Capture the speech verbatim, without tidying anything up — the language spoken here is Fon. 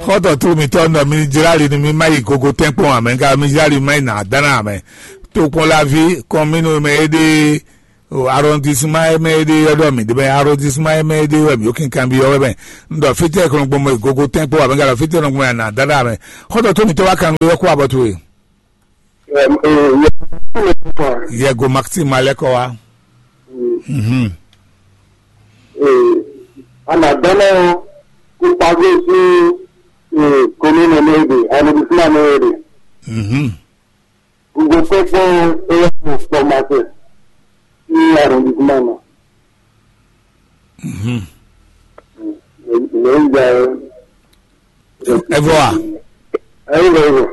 Xɔ́ntɔn tlú mitɔ́ nɔ mi jláli nú mi má yi gogo tɛ́nkpɔ́n ǎ mɛ, ka mi jláli mi má yi nǎ dán ná ǎ mɛ. Tokpɔnlaví kɔn mínú mɛ é ɖe, o arrondissement é mɛ é ɖe ɔ́ ɖɔ mǐ ɖe mɛ, arrondissement é mɛ é ɖe wɛ mǐ ó kinkanbyɔ́ wɛ mɛ. Un ɖɔ fítɛ́ kɔn gbɔn mɔ yi gogo tɛ́nkpɔ́n ǎ mɛ, ka ɖɔ fítɛ́ nɔ gbɔn mɛ nǎ dán ná ǎ mɛ. Xɔ́ntɔn tlú mitɔ́ wá kan nú yɔ́ kú abɔ towe. Yɛgo Maxime alɛkɔ wa. Mhm. Anadɔnɔ kó pàgó sí commune mɛ ɖe, arrondissement mɛ ɖe. Mhm. Gbogbo kpɛkpɔ eyɛ kpɔ masɛ ní arrondissement mɛ. Mhm. Lẹ́yìn ìgbà yẹn, Ẹ vɔ wa. Ẹ̀yin lọ wò.